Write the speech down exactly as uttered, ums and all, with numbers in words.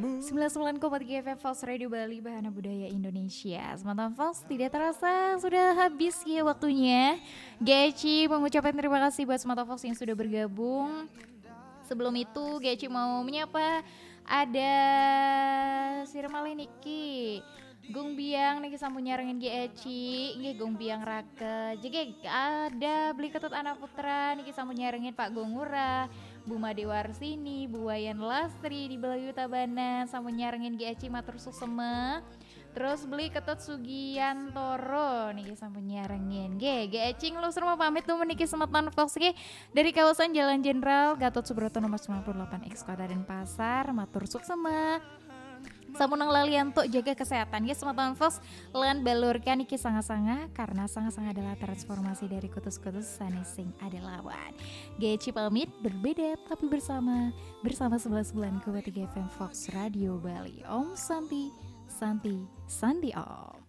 Sembilan sembilan koma tiga F M Fox Radio Bali, Bahana Budaya Indonesia. Semantan Fox, tidak terasa sudah habis ya waktunya. Geci mengucapkan terima kasih buat Semantan Fox yang sudah bergabung. Sebelum itu, Geci mau menyapa ada Sirmale niki. Gung Biang niki sampun nyarengin Geci, nggih Gung Biang Rake. Jegeg ada Beli Ketut Anak Putra niki sampun nyarengin Pak Gung Ngurah, Bu Made Warsini, Bu Wayan Lastri di Belayu Tabanan sampun nyarengin Geci, matur suksema. Terus Beli Ketut Sugiantoro niki sampun nyarengin. Nggih, Geci ngelusur mau pamit dulu niki Semeton Fox nggih. Dari kawasan Jalan Jenderal Gatot Subroto nomor sembilan puluh delapan X Kota Denpasar, matur suksema. Sampun nang lalian tok jaga kesehatan ya Semeton Fox, lan balurkan iki sanga-sanga karena sanga-sanga adalah transformasi dari kutus-kutus sanesing ada lawan. Geci pamit, berbeda tapi bersama, bersama sebelas bulan Kuba tiga F M Fox Radio Bali. Om Santi, Santi, Santi Om.